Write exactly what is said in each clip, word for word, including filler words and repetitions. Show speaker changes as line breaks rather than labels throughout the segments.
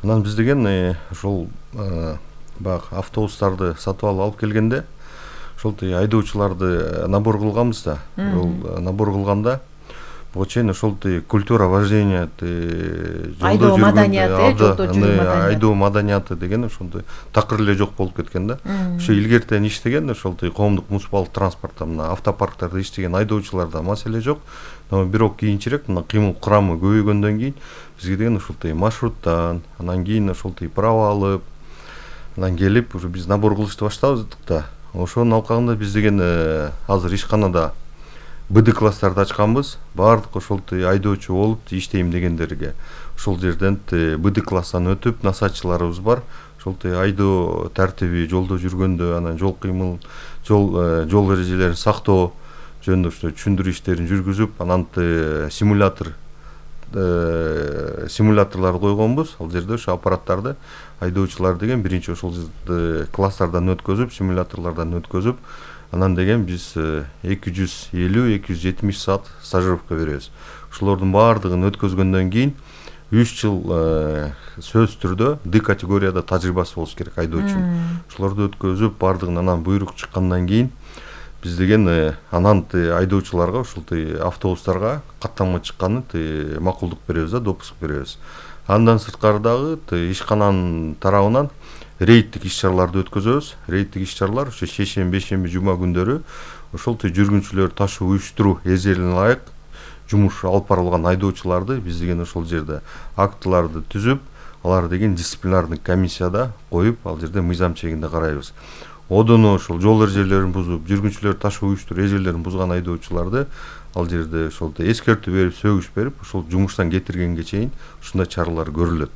Анан биз деген ушул баягы автобустарды сатып алып алып келгенде ошол айдоочуларды набор кылганбыз да. Ошол набор кылганда буга чейин ошол культура вождения
айдоо маданияты, жолдо жүрүү маданияты,
айдоо маданияты деген ошондой такыр эле жок болуп кеткен да. Ошо илгертен иштеген ошол коомдук муниципалдык транспортто мына автопарктарда иштеген айдоочуларда маселе жок. Бирок кийинчерээк мына кыймыл курамы көбөйгөндөн кийин бизге деген ошол маршруттан, анан кийин ошол право алып, анан келип уже биз набор кылышты баштадык да. Ошонун алкагында биз деген азыр ишканада БД класстарды ачканбыз. Баардык ошол айдоочу болуп иштейм дегендерге ошол жерден БД класстан өтүп насаатчыларыбыз бар. Ошол айдоо тартиби, жолдо жүргөндө, анан жол кыймыл, жол жол эрежелерин сактоо жөнүндө ошо түшүндүрүү иштерин жүргүзүп, анан симулятор симуляторлор койгонбуз. Ал жерде ошо аппараттарды айдоочулар деген биринчи ошол класстардан өткөзүп, симуляторлордон өткөзүп, анан деген биз эки жүз элүү эки жүз жетимиш саат стажировка беребиз. Ошолордун баардыгын өткөзгөндөн кийин үч жыл сөзсүз түрдө Д категорияда тажрыйбасы болуш керек айдоочунун. Ошолорду өткөзүп, баардыгын анан буйрук чыккандан кийин биз деген анан айдоочуларга ушул автобустарга каттанма чыкканы макулдук беребиз да, допуск беребиз. Андан сырткары дагы ишкананын тарабынан рейдтик иш-чараларды өткөзөбүз. Рейдтик иш-чаралар ошо шейшемби, бейшемби, жума күндөрү ошол жүргүнчүлөр ташуу, уюштуруу эзелине ылайык жумуш алып барылган айдоочуларды биз деген ошол жерде актыларды түзүп, алар деген дисциплинардык комиссияда коюп, ал жерде мыйзам чегинде карайбыз. Одону ошол жол эрежелерин бузуп, жүргүнчүлөр ташуу, уюштуруу эжелерин бузган айдоочуларды ал жерде ошол эскертүү берип, сөгүш берип, ошол жумуштан кетиргенге чейин ушундай чаралар көрүлөт.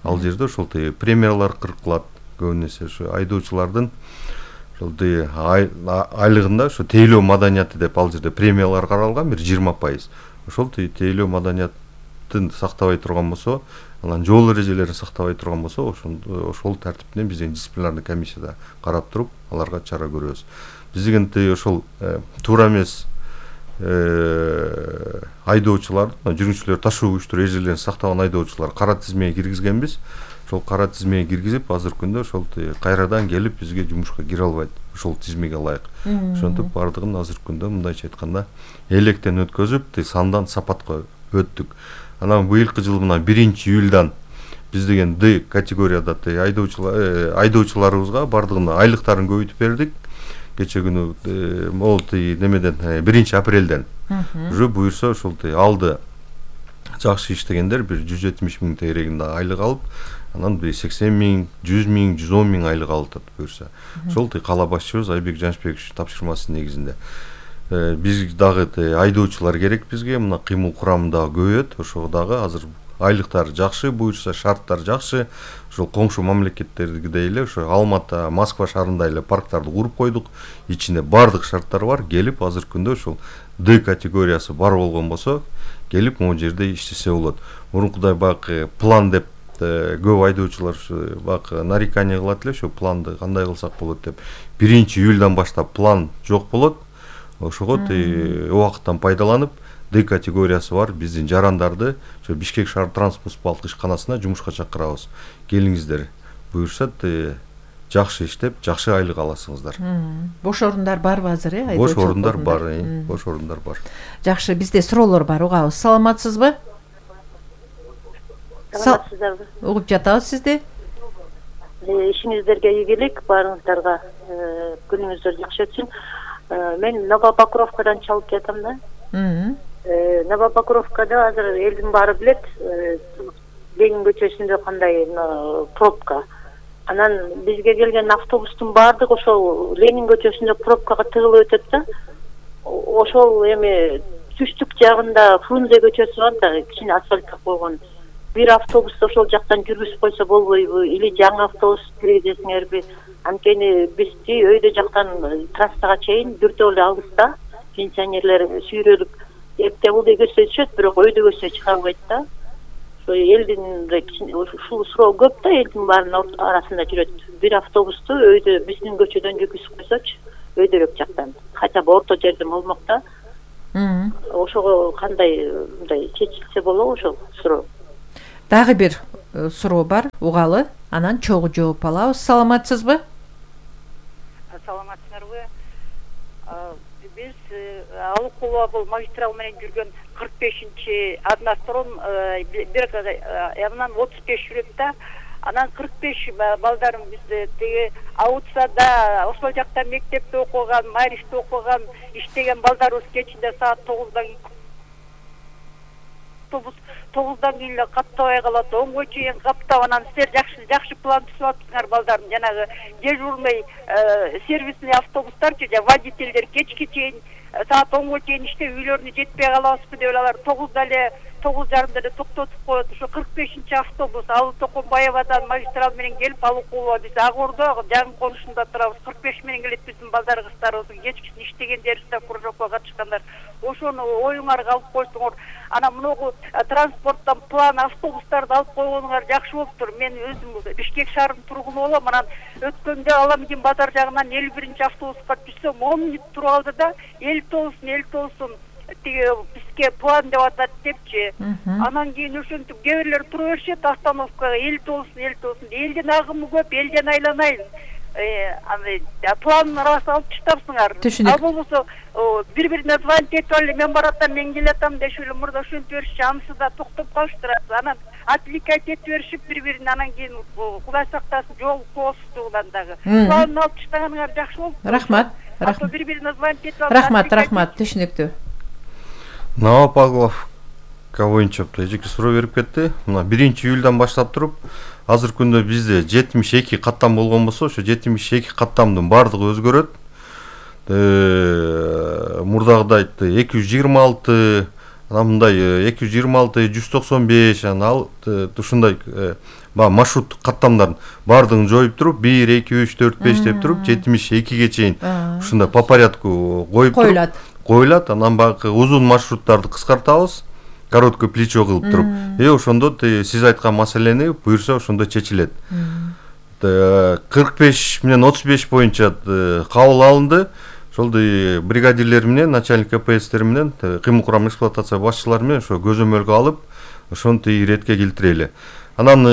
Ал жерде ошол премиялар кыркылат. Көбүн эсе ошо айдоочулардын ошол айлыгында ошо тейлөө маданияты деп ал жерде премиялар каралган бир жыйырма пайыз. Ошол тейлөө маданиятын сактабай турган болсо, анан жол эрежелерин сактабай турган болсо, ошол тартиптен биз дисциплинардык комиссияда карап туруп, аларга чара көрөбүз. Биз деген ошол туура эмес айдоочулар, жүргүнчүлөр ташуу, уюштуруу эжелерин сактаган айдоочулар кара тизмеге киргизгенбиз. Ошол кара тизмеге киргизип, азыркы күндө ошол кайрадан келип бизге жумушка кире албайт. Ошол тизмеге ылайык. Ошентип баардыгын азыркы күндө мындайча айтканда электен өткөзүп, сандан сапатка өттүк. Анан быйылкы жыл мына биринчи июлдан биз деген Д категорияда айдоочулар айдоочуларыбызга баардыгын айлыктарын көбөйтүп бердик. Кече күнү могул немеден биринчи апрелден уже буюрса ошол алды жакшы иштегендер бир жүз жетимиш миң тегерегинде айлык алып, анан бир сексен миң, жүз миң, жүз он миң айлык алып атат буюрса. Ошол кала башчыбыз Айбек Жанышбекович тапшырмасынын негизинде. Биз дагы айдоочулар керек бизге, мына кыймыл курамы дагы көбөйөт. Ошого дагы азыр айлыктар жакшы, буюрса шарттар жакшы. Ошол коңшу мамлекеттердегидей эле ошо Алматы, Москва шаарында эле парктарды куруп койдук. Ичинде бардык шарттар бар. Келип азыркы күндө ошол Д категориясы бар болгон болсо, келип могу жерде иштесе болот. Мурункудай баягы план деп көп айдоочулар баягы нарекание кылат эле, ошо планды кандай кылсак болот деп. биринчи июлдан баштап план жок болот. Ошого убакыттан пайдаланып Д категориясы бар биздин жарандарды ошо Бишкек шаар транспорт муниципалдык ишканасына жумушка чакырабыз. Келиңиздер. Буюрса жакшы иштеп, жакшы айлык аласыңыздар.
Бош орундар барбы азыр, э?
Бош орундар бар, э? Бош орундар бар.
Жакшы, бизде суроолор бар, угабыз. Саламатсызбы?
Саламатсыздарбы?
Угуп жатабыз сизди.
Ишиңиздерге ийгилик, баарыңыздарга күнүңүздөр жакшы өтсүн. Мен Новопокровкадан чалып жатам да. Новопокровкада азыр элдин баары билет, Ленин көчөсүндө кандай пробка. Анан бизге келген автобустун баардыгы ошол Ленин көчөсүндө пробкага тыгылып өтөт да. Ошол эми түштүк жагында Фрунзе көчөсү бар да, кичине асфальтка койгон. Бир автобус ошол жактан жүргүзүп койсо болбойбу, или жаңы автобус киргизесиңерби? Анткени бизди өйдө жактан трассага чейин дүртөө эле алыста, пенсионерлер сүйрөлүп эптебулдай көзсөтүшөт, бирок өйдө көзсө чыга албайт да. Ошо элдин ушул суроо көп да, элдин баарынын арасында жүрөт. Бир автобусту өйдө биздин көчөдөн жүргүзүп койсочу, өйдөрөөк жактан. Хотя бы орто жерден болмок да. Ошого кандай мындай чечилсе болобу ошол суроо?
Дагы бир суроо бар, угалы. Анан чогуу жооп алабыз. Саламатсызбы?
Саламатсыздарбы? Биз Алыкулова бул магистрал менен жүргөн кырк бешинчи однострон бир анан отуз беш жүрөт да. Анан кырк беш балдарым биз теги Аутсада, ошол жакта мектепте окуган, Мариште окуган, иштеген балдарыбыз кечинде саат тогуздан автобус тогуздан кийин эле каптабай калат, онго чейин каптап, анан силер жакшы жакшы план түзүп атсыңар балдарым. Жанагы дежурный сервисный автобустарчы, же водительдер кечке чейин саат онго чейин иштеп үйлөрүнө жетпей калабызбы деп алар тогузда эле тогуз жарымда эле токтотуп коет. Ошо кырк бешинчи автобус Алы Токомбаевадан магистрал менен келип Алыкулова, биз Агордо жаңы конушунда турабыз. кырк беш менен келет биздин балдар кыздарыбыз, кечкисин иштегендерибизде кружокко катышкандар. Ошону оюңарга алып койсоңор, анан мыногу транспорттон план автобустарды алып койгонуңар жакшы болуптур. Мен өзүм Бишкек шаарынын тургуну болом. Анан өткөндө Аламдин базар жагынан элүү биринчи автобуска түшсөм он мүнөт туруп алды да, элүү тогузун элүү тогузун тиги бизге план деп атат депчи. Анан кийин ошентип кээ бирлер тура беришет остановкага элүү тогузун элүү тогузун. Элдин агымы көп, элден айланайын. Аны план рас алып таштапсыңар. Ал болбосо бири-бирине звонить этип алып, мен баратам, мен келатам дешип эле мурда ошентип беришчи, анысы да токтоп калыштырат. Анан отвлекать этип беришип бири-бирине, анан кийин Кудай сактасын, жол тоосуздугунан дагы. План алып таштаганыңар жакшы болуп.
Рахмат.
Рахмат. Бири-бирине звонить этип алып.
Рахмат, рахмат, түшүнүктүү.
Новопавловка боюнча эжеке суроо берип кетти. Мына биринчи июлдан баштап туруп, азыркы күндө бизде жетимиш эки каттам болгон болсо, ошо жетимиш эки каттамдын баардыгы өзгөрөт. Мурдагыдай эки жүз жыйырма алты, анан мындай эки жүз жыйырма алты, жүз токсон беш, анан ушундай баягы маршруттук каттамдардын баардыгын жоюп туруп, бир, эки, үч, төрт, беш деп туруп, жетимиш экиге чейин ушундай по порядку коюп туруп коюлат. Анан баягы узун маршруттарды кыскартабыз, короткое плечо кылып туруп. И ошондо сиз айткан маселени буюрса ошондо чечилет. кырк беш менен отуз беш боюнча кабыл алынды. Ошол бригадирлер менен, начальник КПСтер менен, кыймыл курам эксплуатация башчылары менен ошо көзөмөлгө алып, ошону иретке келтирели. Анан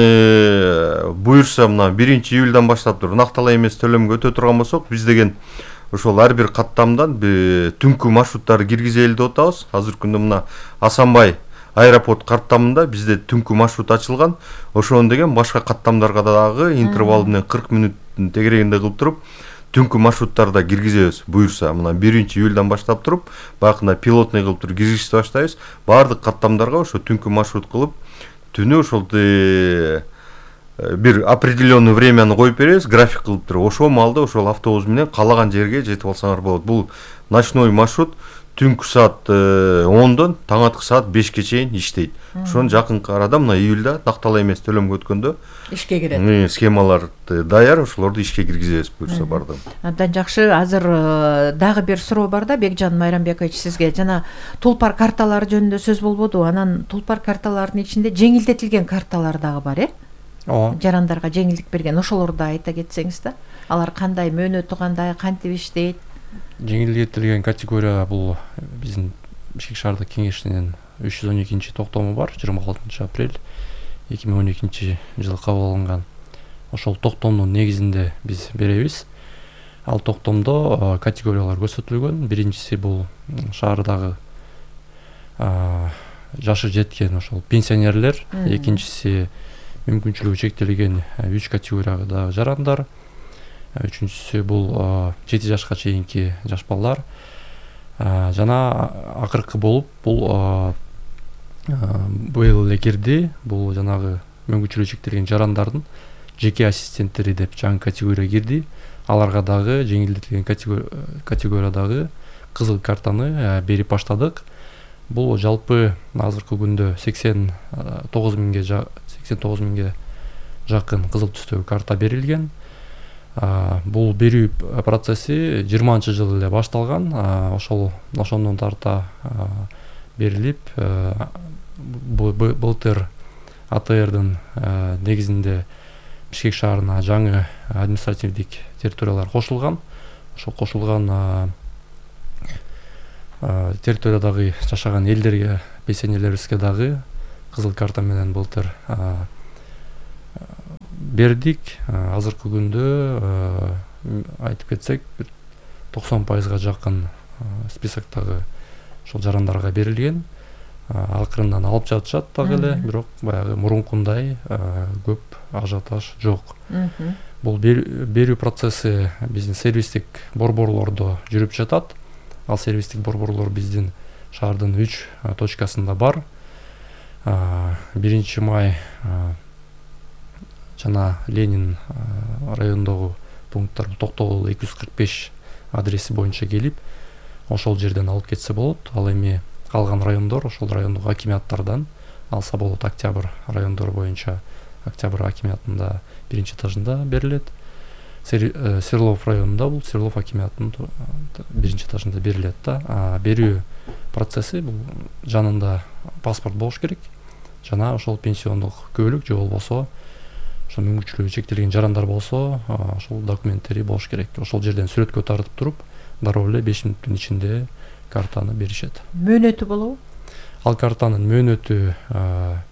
буюрса мына биринчи июлдан баштап туруп накталай эмес төлөмгө өтө турган болсок, биз деген ошол ар бир каттамдан түнкү маршруттарды киргизели деп атабыз. Азыркы күндө мына Асанбай аэропорт каттамында бизде түнкү маршрут ачылган. Ошону деген башка каттамдарга дагы интервал менен кырк мүнөттүн тегерегинде кылып туруп, түнкү маршруттарды киргизебиз. Буюрса мына биринчи июлдан баштап туруп, баягындай пилотный кылып туруп киргизишти баштайбыз. Баардык каттамдарга ошо түнкү маршрут кылып, түнү ошол бир определенный времяны коюп беребиз, график кылып туруп, ошол маалда ошол автобус менен каалаган жерге жетип алсаңар болот. Бул ночной маршрут түнкү саат ондон таңаткы саат бешке чейин иштейт. Ошону жакынкы арада мына июлда накталай эмес төлөмгө өткөндө
ишке кирет.
Схемалар даяр, ошолорду ишке киргизебиз буюрса бардым.
Абдан жакшы. Азыр дагы бир суроо бар да, Бекжан Майрамбекович, сизге жана тулпар карталары жөнүндө сөз болбоду. Анан тулпар карталарынын ичинде жеңилдетилген карталар дагы бар, э? Ооба. Жарандарга жеңилдик берген, ошолорду айта кетсеңиз да. Алар кандай, мөөнөтү кандай, кантип иштейт?
Жеңилдетилген категория бул биздин Бишкек шаардык кеңешинин үч жүз он экинчи токтому бар, жыйырма алтынчы апрель эки миң он экинчи жылы кабыл алынган. Ошол токтомдун негизинде биз беребиз. Ал токтомдо категориялар көрсөтүлгөн. Биринчиси бул шаардагы жашы жеткен ошол пенсионерлер, экинчиси мүмкүнчүлүгү чектелген үч категорияга дагы жарандар, үчүнчүсү бул жети жашка чейинки жаш балдар, жана акыркы болуп бул быйыл эле кирди, бул жанагы мүмкүнчүлүгү чектелген жарандардын жеке ассистенттери деп жаңы категория кирди. Аларга дагы жеңилдетилген категориядагы кызыл картаны берип баштадык. Бул жалпы азыркы күндө сексен тогуз миңге сексен тогуз миңге жакын кызыл түстөгү карта берилген. Бул берүү процесси жыйырманчы жылы эле башталган. Ошол ошондон тарта берилип, былтыр А Т Рдын негизинде Бишкек шаарына жаңы административдик территориялар кошулган. Ошол кошулган территориядагы жашаган элдерге, пенсионерлерибизге дагы кызыл карта менен былтыр бердик. Азыркы күндө айтып кетсек бир токсон пайызга жакын списоктогу ошол жарандарга берилген. Акырындан алып жатышат дагы эле, бирок баягы мурункундай көп ажиотаж жок. Бул берүү процесси биздин сервистик борборлордо жүрүп жатат. Ал сервистик борборлор биздин шаардын үч точкасында бар. биринчи май жана Ленин районундогу пункттар Токтогул эки жүз кырк беш адреси боюнча келип, ошол жерден алып кетсе болот. Ал эми калган райондор ошол райондук акимиаттардан алса болот. Октябрь райондор боюнча Октябрь акимиятында биринчи этажында берилет. Серлов районунда бул Серлов акимиятынын биринчи этажында берилет да. Берүү процесси бул жанында паспорт болуш керек жана ошол пенсиондук көбөлүк же болбосо ошо мүмкүнчүлүгү чектелген жарандар болсо ошол документтери болуш керек. Ошол жерден сүрөткө тартып туруп дароо эле беш мүнөттүн ичинде картаны беришет.
Мөөнөтү болобу?
Ал картанын мөөнөтү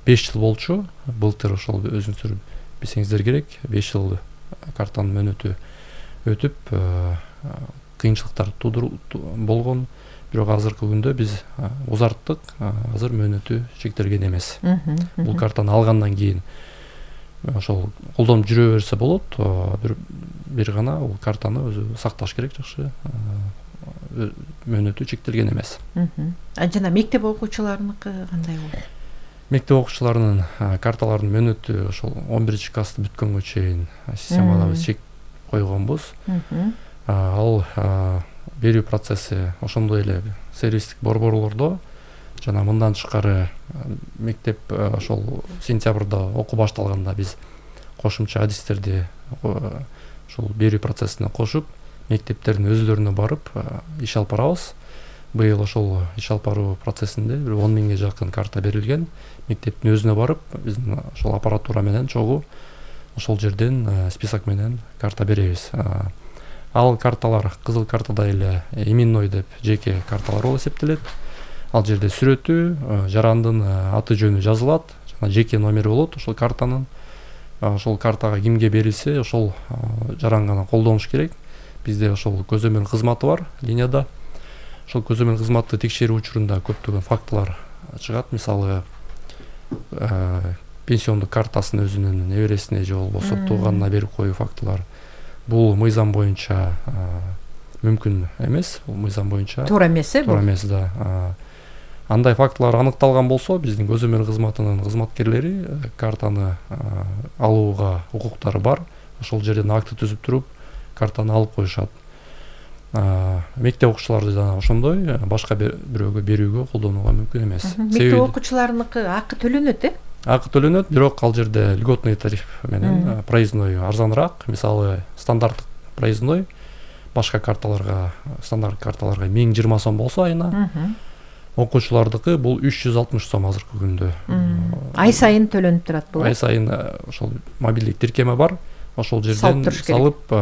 беш жыл болчу. Былтыр ошол өзүңүздөр билсеңиздер керек, беш жыл картанын мөөнөтү өтүп кыйынчылыктар болгон. Бирок азыркы күндө биз узарттык. Азыр мөөнөтү чектелген эмес. Бул картаны алгандан кийин ошол колдонуп жүрө берсе болот. Бир бир гана бул картаны өзү сакташ керек жакшы. Мөөнөтү чектелген эмес.
А жана мектеп окуучуларыныкы кандай болот?
Мектеп окуучуларынын карталарынын мөөнөтү ошол он биринчи классты бүткөнгө чейин системада биз чек койгонбуз. Ал берүү процесси ошондой эле сервистик борборлордо жана мындан тышкары мектеп ошол сентябрда окуу башталганда биз кошумча адистерди ошол берүү процессине кошуп, мектептердин өзлөрүнө барып иш алып барабыз. Быйыл ошол иш алып баруу процессинде бир он миңге жакын карта берилген. Мектептин өзүнө барып, биздин ошол аппаратура менен чогуу ошол жерден список менен карта беребиз. Ал карталар кызыл картадай эле именной деп жеке карталар болуп эсептелет. Ал жерде сүрөтү, жарандын аты жөнү жазылат, жана жеке номери болот ошол картанын. Ошол картага кимге берилсе, ошол жаран гана колдонуш керек. Бизде ошол көзөмөл кызматы бар линияда. Ошол көзөмөл кызматты текшерүү учурунда көптөгөн фактылар чыгат. Мисалы, пенсиондук картасын өзүнүн небересине же болбосо тууганына берип коюу фактылар. Бул мыйзам боюнча мүмкүн эмес. Бул мыйзам боюнча
туура эмес, э?
Туура эмес да. Андай фактылар аныкталган болсо, биздин көзөмөл кызматынын кызматкерлери картаны алууга укуктары бар. Ошол жерден акты түзүп туруп, картаны алып коюшат. Мектеп окуучулары да ошондой, башка бирөөгө берүүгө колдонууга мүмкүн эмес.
Мектеп окуучуларыныкы акы төлөнөт, э?
Акы төлөнөт, бирок ал жерде льготный тариф менен проездной арзаныраак. Мисалы, стандарттык проездной башка карталарга, стандарт карталарга миң жыйырма сом болсо айына, окуучулардыкы бул үч жүз алтымыш сом азыркы күндө.
Ай сайын төлөнүп турат бул.
Ай сайын ошол мобилдик тиркеме бар. Ошол жерден салып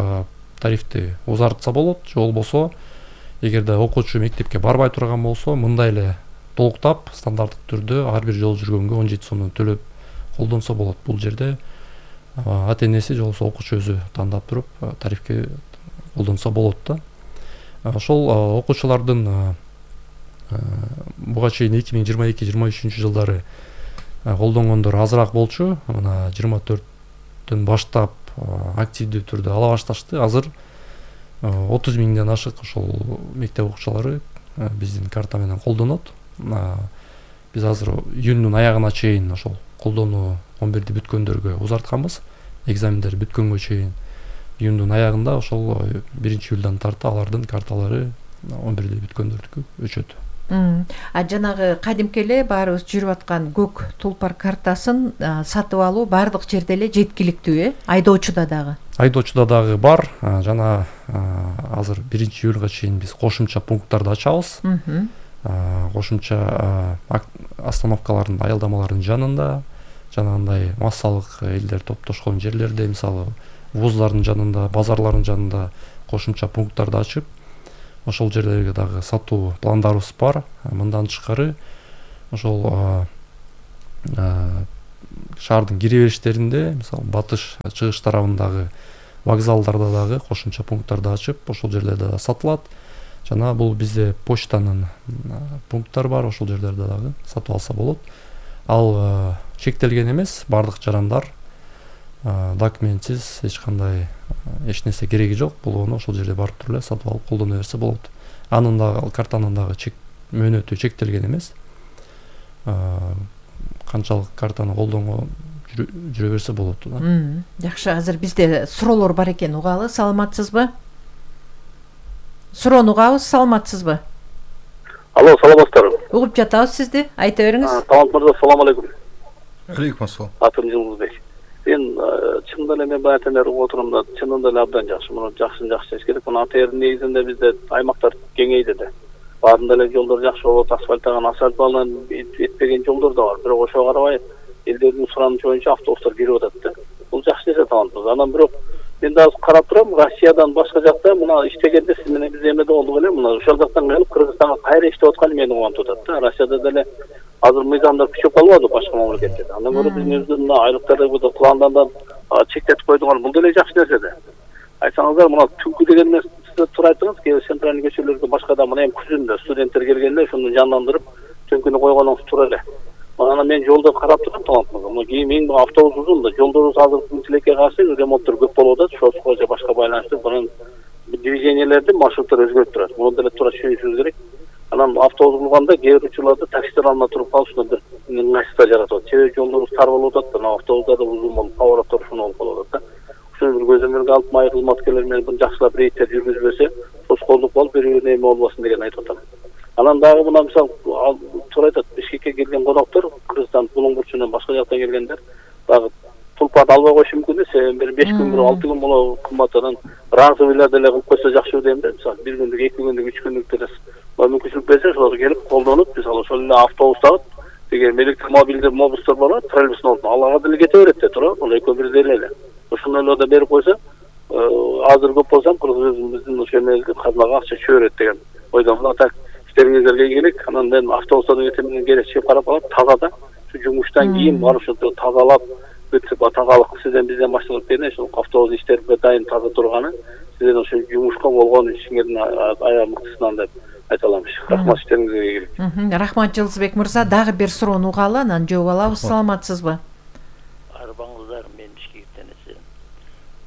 тарифти узартса болот. Же болбосо, эгерде окуучу мектепке барбай турган болсо, мындай эле толуктап стандарттык түрдө ар бир жол жүргөнгө он жети сомдон төлөп колдонсо болот. Бул жерде ата-энеси же болбосо окуучу өзү тандап туруп тарифке колдонсо болот да. Ошол окуучулардын буга чейин эки миң жыйырма эки жыйырма үчүнчү жылдары колдонгондор азыраак болчу. Мына жыйырма төрттөн баштап активдүү түрдө ала башташты. Азыр отуз миңден ашык ошол мектеп окуучулары биздин карта менен колдонот. Биз азыр июндун аягына чейин ошол колдонуу он бирди бүткөндөргө узартканбыз. Экзамендер бүткөнгө чейин июндун аягында ошол биринчи июлдан тарта алардын карталары он бирди бүткөндөрдүкү өчөт.
А жанагы кадимки эле баарыбыз жүрүп аткан көк тулпар картасын сатып алуу баардык жерде эле жеткиликтүү, э? Айдоочуда дагы.
Айдоочуда дагы бар. Жана азыр биринчи июлга чейин биз кошумча пункттарды ачабыз. Кошумча остановкалардын, аялдамалардын жанында, жанагындай массалык элдер топтошкон жерлерде, мисалы, вуздардын жанында, базарлардын жанында кошумча пункттарды ачып, ошол жерлерге дагы сатуу пландарыбыз бар. Мындан тышкары ошол шаардын кире бериштеринде, мисалы батыш чыгыш тарабындагы вокзалдарда дагы кошумча пункттарды ачып, ошол жерлерде да сатылат. Жана бул бизде почтанын пункттары бар, ошол жерлерде дагы сатып алса болот. Ал чектелген эмес, бардык жарандар документсиз эч кандай эч нерсе кереги жок, болгону ошол жерде барып туруп эле сатып алып колдоно берсе болот. Анын дагы картанын дагы чек мөөнөтү чектелген эмес. Канчалык картаны колдонгон жүрө берсе болот да.
Жакшы, азыр бизде суроолор бар экен, угалы. Саламатсызбы? Суроону угабыз, саламатсызбы?
Алло, саламатсыздарбы?
Угуп жатабыз сизди. Айта бериңиз.
Талант мырза, салам алейкум.
Алейкум ассалам.
Атым Жылмузбек. Мен чынында эле мен баягы эле угуп отурумда, чынында эле абдан жакшы. Муну жакшы жакшы чечиш керек. Муну атайын негизинде бизде аймактар кеңейди да. Баарында эле жолдор жакшы болот, асфальттаган, асфальт балынан этпеген жолдор да бар. Бирок ошого карабай элдердин суранычы боюнча автобустар кирип атат да. Бул жакшы нерсе талантыбыз. Анан бирок мен да карап турам, Россиядан башка жакта мына иштегенде сиз менен биз эмеде болдук эле, мына ошол жактан келип Кыргызстанга кайра иштеп атканы мени кубантып атат да. Россияда деле азыр мыйзамдар күчөп калбады башка мамлекеттерде. Андан көрө биздин өзүбүздүн мына айлыктарды буда пландандан чектетип койдуган бул деле жакшы нерсе да. Айтсаңыздар, мына түнкү деген сиз туура айттыңыз, кээ центральный көчөлөрдө башкада мына эми күзүндө студенттер келгенде ошону жандандырып түнкүнү койгонуңуз туура эле. Анан мен жолдо карап турам, талантмын. Мына кийин мен автобус узун да, жолдорубуз азыр тилекке каршы ремонттор көп болуп атат, ошого же башка байланыштуу бунун движениелерди маршруттар өзгөрүп турат. Муну деле туура түшүнүшүбүз керек. Анан автобус кылганда кээ бир учурларда таксилер алына туруп калышына бир ыңгайсыздык жаратат. Себеби жолдорубуз тар болуп атат да, автобустар да узун болуп, повороттор ушун болуп калып атат да. Ушуну бир көзөмөлгө алып, майыр кызматкерлер менен бир жакшылап рейдтер жүргүзбөсө, тоскоолдук болуп, бири-бирине эме болбосун деген айтып атам. Анан дагы мына мисалы туура айтат, Бишкекке келген коноктор, Кыргызстан Булуң бурчунан башка жактан келгендер, дагы тулпарды албай коюшу мүмкүн да, себеби бир беш күн, бир алты күн боло кымбаттан разовыйлар деле кылып койсо жакшы дейм да. Мисалы бир күндүк, эки күндүк, үч күндүк деле мүмкүнчүлүк берсе, ошолорго келип колдонуп, мисалы ошол эле автобустагы деген электромобилдер, мобустар бар, троллейбустун ордуна алага деле кете берет да, туура, бул экөө бирдей эле. Ошону эле да берип койсо, азыр көп болсам, Кыргызстандын ошо эмеде казынага акча чөбө берет деген ойдомун. Атак иштериңиздерге ийгилик. Анан мен автобустардын кетемин керек чыгып карап калам, таза да. Şu жумуштан кийин барып ошо тазалап, бүтүп тазалык сизден бизден башталып берген, ошол автобус иштерип дайын таза турганы, сизден ошо жумушка болгон ишиңердин аябай мыктысынан деп айта аламыз. Рахмат, иштериңизге ийгилик.
Рахмат Жылдызбек мырза, дагы бир суроону угалы, анан жооп алабыз. Саламатсызбы?
Арбаңыздар, мен Бишкектен эсен.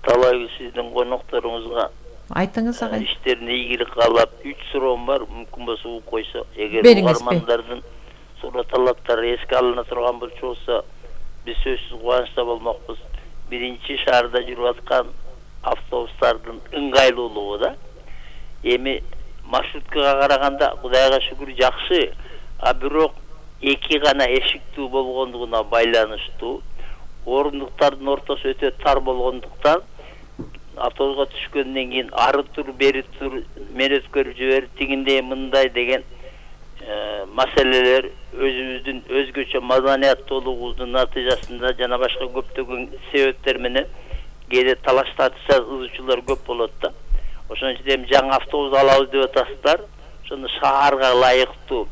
Талай сиздин конокторуңузга
айтыңыз агай.
Иштерине ийгилик каалап, үч суроом бар, мүмкүн болсо угуп койсо, эгер угармандардын суроо талаптары эске алына турган болсо, биз сөзсүз кубанычта болмокпуз. Биринчи шаарда жүрүп аткан автобустардын ыңгайлуулугу да. Эми маршруткага караганда Кудайга шүгүр жакшы, а бирок эки гана эшиктүү болгондугуна байланыштуу, орундуктардын ортосу өтө тар болгондуктан автобуска түшкөндөн кийин ары тур, бери тур, мен өткөрүп жиберип, тигиндей мындай деген маселелер өзүбүздүн өзгөчө маданияттуулугубуздун натыйжасында жана башка көптөгөн себептер менен кээде талаш тартышат, ызычуулар көп болот да. Ошон үчүн эми жаңы автобус алабыз деп атасыздар. Ошону шаарга ылайыктуу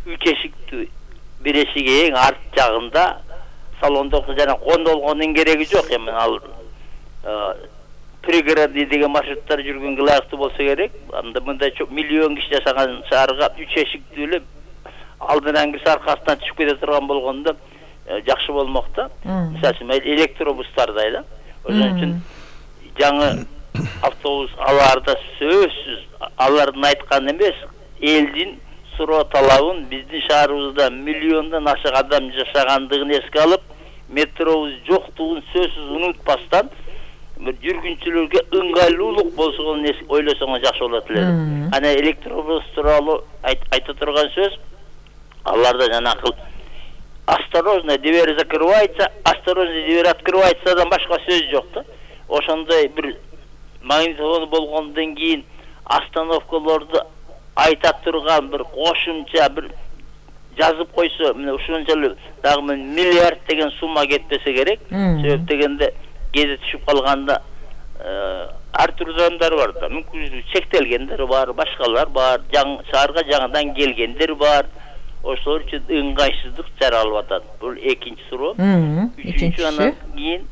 үч эшиктүү бир эшиги эң арт жагында салондо жана кондолгондун кереги жок. Эми ал пригородный деген маршруттар жүргөнгө ылайыктуу болсо керек. Анда мындай миллион киши жашаган шаарга үч эшиктүү эле алдынан кирсе аркасынан түшүп кете турган болгондо жакшы болмок да. Мисалы үчүн электробустардай да. Ошон үчүн жаңы автобус аларда сөзсүз алардын айтканы эмес, элдин суроо талабын биздин шаарыбызда миллиондон ашык адам жашагандыгын эске алып, метробуз жоктугун сөзсүз унутпастан жүргүнчүлөргө ыңгайлуулук болсун ойлосоңуз жакшы болот эле. Ана электробус тууралуу айта турган сөз аларда жанакы осторожно, дверь закрывается, осторожно, дверь открывается, башка сөз жок да. Ошондой бир магнитофон болгондон кийин остановкаларды айта турган бир кошумча бир жазып койсо, мына ушунчалык дагы миллиард деген сумма кетпесе керек. Себеп дегенде кээде түшүп калганда ар түрдүү адамдар бар да, мүмкүнчүлүгү чектелгендер бар, башкалар бар, жаңы шаарга жаңыдан келгендер бар. ошолор үчүн ыңгайсыздык жаралып атат. Бул экинчи суроо. Үчүнчү, анан кийин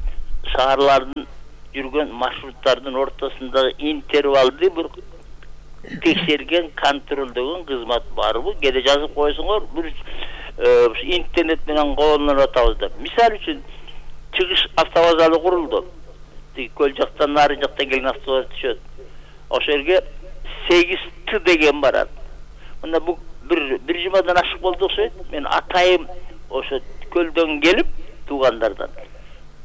шаарлардын жүргөн маршруттардын ортосундагы интервалды бир текшерген, контролдогон кызмат барбы? Кээде жазып койсоңор, бир интернет менен колдонуп атабыз деп. Мисалы үчүн чыгыш автовокзалы курулду. Тиги көл жактан, нары жактан келген автобус түшөт. Ошол жерге сегиз Т деген барат. Мында бу бир бир жумадан ашык болду окшойт. Мен атайым ошо көлдөн келип, туугандардан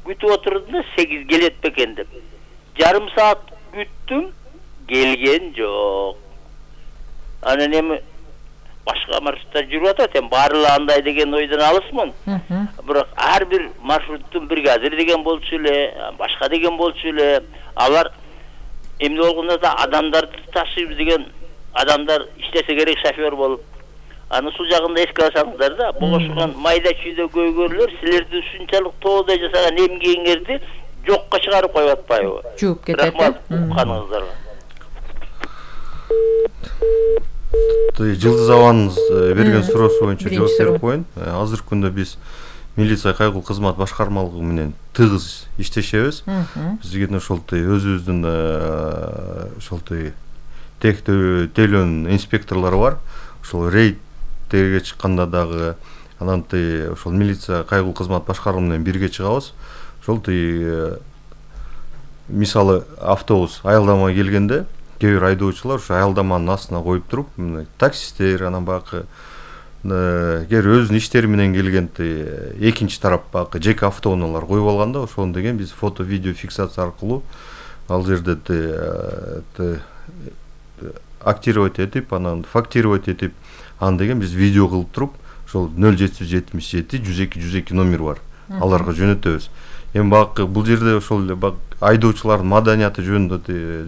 күтүп отурдум да сегиз келет бекен деп. Жарым саат күттүм, келген жок. Анан эми башка маршруттар жүрүп атат, эми баары андай деген ойдон алысмын. Бирок ар бир маршруттун бир газир деген болчу эле, башка деген болчу эле. Алар эмне болгондо да адамдарды ташыйбыз деген адамдар иштесе керек шофер болуп. Аны сул жагында эске алсаңыздар да, богошгон майда чүйдө көйгөрлөр силерди ушунчалык тоодой жасаган эмгегиңерди жокко чыгарып коюп атпайбы?
Жууп кетет.
Рахмат каныңыздарга.
Жылдыз Аваныз берген суроосу боюнча жооп берип коеюн. Азыркы күндө биз милиция кайгыл кызмат башкармалыгы менен тыгыз иштешебиз. Биздин ошол өзүбүздүн ошол тектөө инспекторлору бар. Ошол рейдтерге чыкканда дагы анан ошол милиция кайгыл кызмат башкармасы менен бирге чыгабыз. Ошол мисалы автобус аялдамага келгенде кээ бир айдоочулар ошо аялдаманын астына коюп туруп, таксисттер, анан бакы кээ бир өзүнүн иштери менен келген экинчи тарап бакы жеке автоунаалар коюп алганда, ошону деген биз фото видео фиксация аркылуу ал жерде актировать этип, анан фактировать этип, аны деген биз видео кылып туруп, ошол нөл жети жүз жетимиш жети жүз эки жүз эки номер бар. Аларга жөнөтөбүз. Эми бакы бул жерде ошол эле айдоочулардын маданияты жөнүндө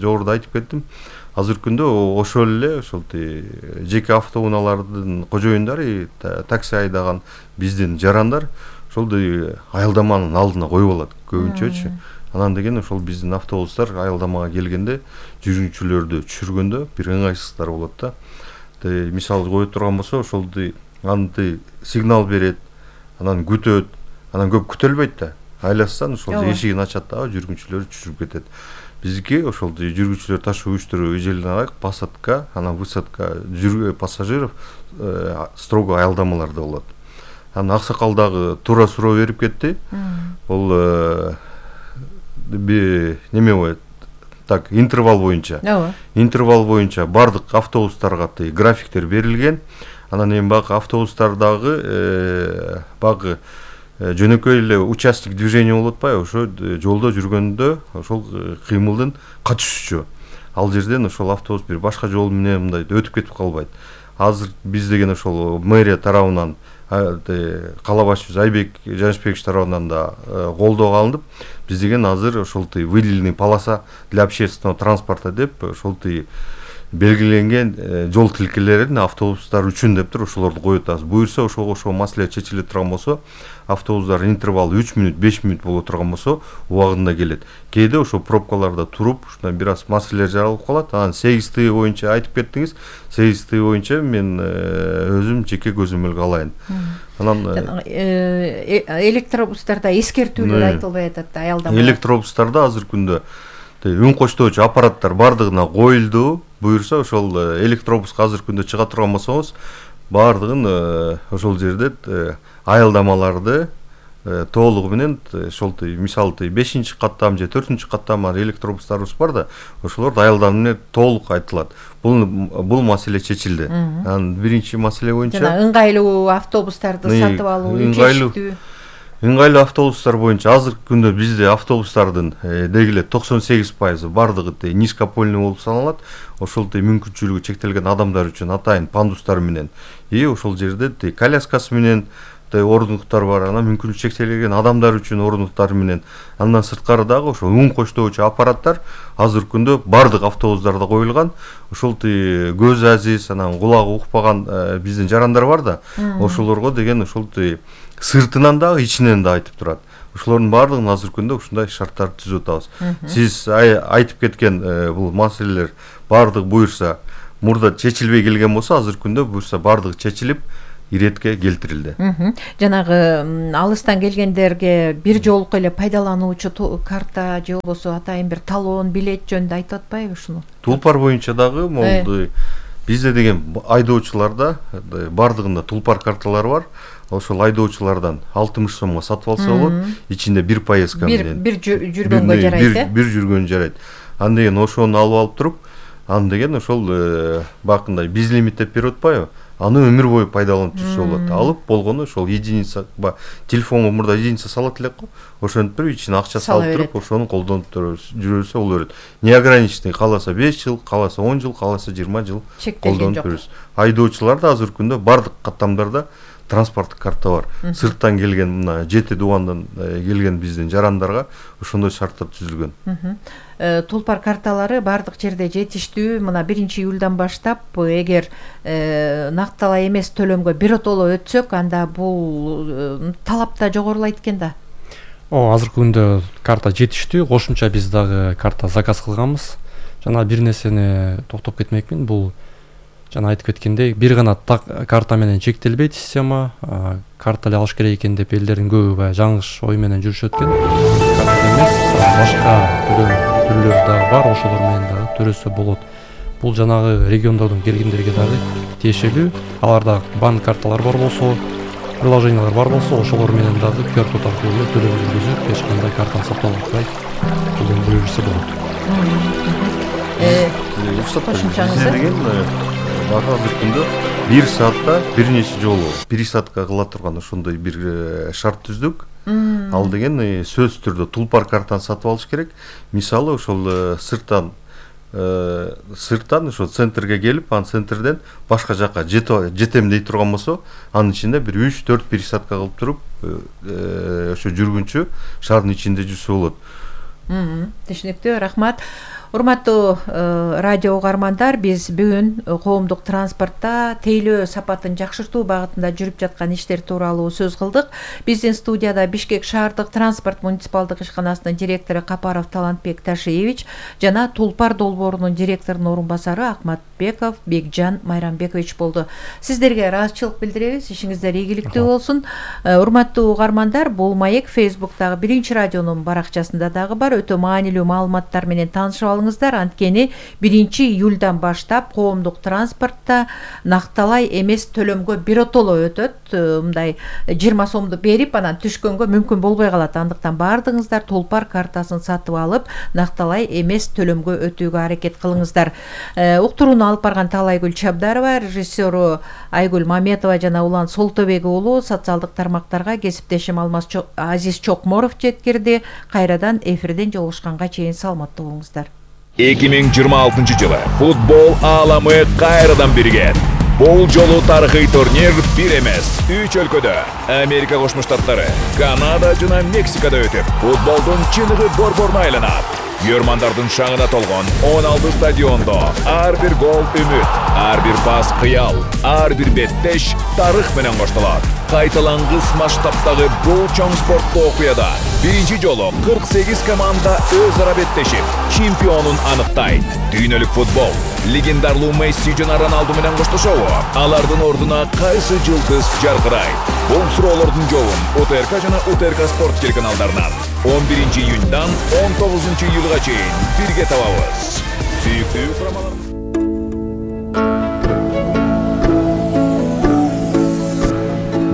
жогоруда айтып кеттим. Азыркы күндө ошол эле ошол жеке автоунаалардын кожоюндары, такси айдаган биздин жарандар ошол аялдаманын алдына коюп алат көбүнчөчү. Анан деген ошол биздин автобустар аялдамага келгенде жүргүнчүлөрдү түшүргөндө бир ыңгайсыздыктар болот да. Мисалы коюп турган болсо, ошол аны сигнал берет, анан күтөт, анан көп күтөлбөйт да. Айлассан ошол эшигин ачат да, жүргүнчүлөр түшүрүп кетет. Биздики ошол жүргүнчүлөр ташуу учтуру эжелден арак посадка, анан высадка жүргөн пассажиров строго аялдамаларда болот. Анан аксакал дагы туура суроо берип кетти. Бул неме болот? Так, интервал боюнча. Интервал боюнча бардык автобустарга графиктер берилген. Анан эми бак автобустардагы багы жөнөкөй эле участок движения болуп атпайбы? Ошо жолдо жүргөндө ошол кыймылдын качышчу. Ал жерден ошол автобус бир башка жол менен мындай өтүп кетип калбайт. Азыр биз деген ошол мэрия тарабынан, кала башчыбыз Айбек Жанышбекович тарабынан да колдоого алынып, биз деген азыр ошол выделенный полоса для общественного транспорта деп ошол белгиленген жол тилкелерин автобустар үчүн деп туруп ошолорду коюп атабыз. Буюрса ошого ошол маселе чечиле турган болсо, автобустар интервалы үч мүнөт, беш мүнөт боло турган болсо, убагында келет. Кээде ошол пробкаларда туруп, ушундай бир аз маселелер жаралып калат. Анан сегиз Т боюнча айтып кеттиңиз. сегиз Т боюнча мен өзүм жеке көзөмөлгө алайын.
Анан электробустарда эскертүүлөр айтылбай атат да, аялдама.
Электробустарда азыркы күндө үн коштоочу аппараттар бардыгына коюлду. Буюрса ошол электробуска азыркы күндө чыга турган болсоңуз, бардыгын ошол жерде аялдамаларды толугу менен ошол мисалы бешинчи каттам же төртүнчү каттам электробустарыбыз бар да, ошолорду аялдама менен толук айтылат. Бул бул маселе чечилди. Анан биринчи маселе боюнча
жана ыңгайлуу автобустарды сатып алуу, чечтүү.
Ыңгайлуу автобустар боюнча азыркы күндө бизде автобустардын деги эле токсон сегиз пайызы бардыгы низкопольный болуп саналат. Ошол мүмкүнчүлүгү чектелген адамдар үчүн атайын пандустар менен и ошол жерде коляскасы менен ордуктар бар, анан мүмкүнчүлүгү чектелген адамдар үчүн ордуктар менен. Андан сырткары дагы ошол үн коштоочу аппараттар азыркы күндө бардык автобустарда коюлган. Ошол көз азиз, анан кулагы укпаган биздин жарандар бар да, ошолорго деген ошол сыртынан дагы ичинен да айтып турат. Ошолордун бардыгын азыркы күндө ушундай шарттарды түзүп атабыз. Сиз айтып кеткен бул маселелер бардык буюрса мурда чечилбей келген болсо, азыркы күндө буюрса бардыгы чечилип, иретке келтирилди.
Жанагы алыстан келгендерге бир жолку эле пайдалануучу карта же болбосо атайын бир талон, билет жөнүндө айтып атпайбы ушуну?
Тулпар боюнча дагы могу бизде деген айдоочуларда бардыгында тулпар карталары бар. Ошол айдоочулардан алтымыш сомго сатып алса болот. Ичинде бир поездка менен.
Бир жүргөнгө жарайт, э?
Бир жүргөн жарайт. Анда деген ошону алып алып туруп, аны деген ошол бакында безлимиттеп берип атпайбы? Аны өмүр бою пайдаланып жүрсө болот. Алып болгону ошол единица, телефонго мурда единица салат элек го. Ошентип туруп ичине акча салып туруп, ошону колдонуп жүрөсө боло берет. Неограниченный, кааласа беш жыл, кааласа он жыл, кааласа жыйырма жыл колдонуп жүрөсүз. Айдоочуларда азыркы күндө бардык каттамдарда транспорттук карта бар. Сырттан келген мына жети дубандан келген биздин жарандарга ошондой шарттар түзүлгөн.
Тулпар карталары бардык жерде жетиштүү. Мына биринчи июлдан баштап эгер накталай эмес төлөмгө биротоло өтсөк, анда бул талап да жогорулайт экен да.
О, азыркы күндө карта жетиштүү. Кошумча биз дагы карта заказ кылганбыз. Жана бир нерсени токтоп кетмекмин. Бул жана айтып кеткендей, бир гана карта менен чектелбейт система. Карта эле алыш керек экен деп элдердин көбү баягы жаңылыш ой менен жүрүшөт экен. Карта эмес, башка төлөм түрлөрү дагы бар, ошолор менен дагы төрөсө болот. Бул жанагы региондордон келгендерге дагы тиешелүү. Аларда банк карталар бар болсо, приложениялар бар болсо, ошолор менен дагы ку ар код аркылуу төлөм жүргүзүп, эч кандай картаны сатып албай төлөм жүргүзүшө болот.
Э, кошумчаңызы
деген азыркы күндө бир саатта бир нече жолу пересадка кыла турган ошондой бир шарт түздүк. Ал деген сөзсүз түрдө тулпар картаны сатып алыш керек. Мисалы ошол сырттан сырттан ошо центрге келип, анын центрден башка жака жетем дей турган болсо, анын ичинде бир үч төрт пересадка кылып туруп, ошо жүргүнчү шаардын ичинде жүрсө болот.
Түшүнүктүү, рахмат. Урматтуу радио угармандар, биз бүгүн коомдук транспортто тейлөө сапатын жакшыртуу багытында жүрүп жаткан иштер тууралуу сөз кылдык. Биздин студияда Бишкек шаардык транспорт муниципалдык ишканасынын директору Капаров Талантбек Ташиевич жана Тулпар долбоорунун директорунун орун басары Акматбеков Бекжан Майрамбекович болду. Сиздерге ыраазычылык билдиребиз. Ишиңиздер ийгиликтүү болсун. Урматтуу угармандар, бул маек Facebook'тагы Биринчи радионун баракчасында дагы бар. Өтө маанилүү маалыматтар менен таанышып алыңыздар. Анткени биринчи июлдан баштап коомдук транспортто накталай эмес төлөмгө биротоло өтөт. Мындай жыйырма сомду берип, анан түшкөнгө мүмкүн болбой калат. Андыктан бардыгыңыздар Тулпар картасын сатып алып, накталай эмес төлөмгө өтүүгө аракет кылыңыздар. Уктурууну алып барган Талайгүл Чабдарова, режиссеру Айгүл Маметова жана Улан Солтобек уулу, социалдык тармактарга кесиптешим Алмаз Азиз Чокморов жеткирди. Кайрадан эфирден жолугушканга чейин саламаттуу болуңуздар.
эки миң жыйырма алтынчы жылы футбол ааламы кайрадан биригет. Бул жолу тарыхый турнир бир эмес, үч өлкөдө, Америка Кошмо Штаттары, Канада жана Мексикада өтүп, футболдун чыныгы борборуна айланат. Көрмандардын шаңына толгон он алты стадиондо ар бир гол үмүт, ар бир пас кыял, ар бир беттеш тарых менен коштолот. Кайталангыс масштабтагы бул чоң спорттуу окуяда биринчи жолу кырк сегиз команда өз ара беттешип, чемпионун аныктайт. Дүйнөлүк футбол легендарлуу Месси жана Роналду менен коштошобу? Алардын ордуна кайсы жылдыз жаркырайт? Бул суроолордун жообун УТРК жана УТРК спорт телеканалдарынан он биринчи июньдан он тогузунчу июлга чейин бирге табабыз. Сүйүктүү угармандар.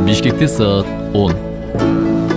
Бишкекте саат он.